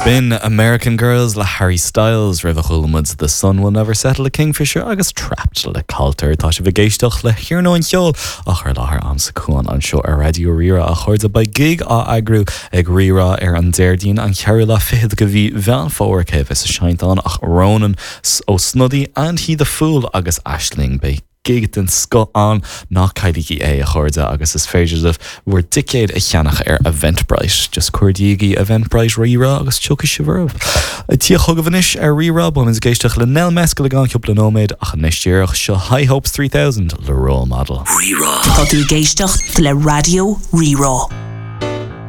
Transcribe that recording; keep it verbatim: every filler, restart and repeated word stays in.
B'in American Girls le Harry Styles roimhe chuala muid The Sun Will Never Settle le Kingfisher agus Trapped le Culture Tá sibh ag éisteacht le hiarnóin cheoil á chur i láthair agamsa Cuan anseo ar Raidió Rí-Rá a chairde beidh gig á eagrú ag Rí-Rá ar an Déardaoin an ceathrú lá fichead de mhí Mheán Fómhair cé bheas ag seinnt ann ach Ronan ó Snodaigh and He the Fool agus Aisling beidh gig den scoth ann ná cailligí é a chairde agus is féidir libh bhur dticéid a cheannach ar Eventbrite, just cuardaígí Eventbrite Rí-Rá agus tiocfaidh sibh oraibh. Tí chugaibh anois ar Rí-Rá beimid ag éisteacht le Nell Mescal i gceann cúpla nóiméad ach anois díreach seo High Hopes three thousand le Role Model. Rí-Rá. Tá tú ag éisteacht le Raidió Rí-Rá.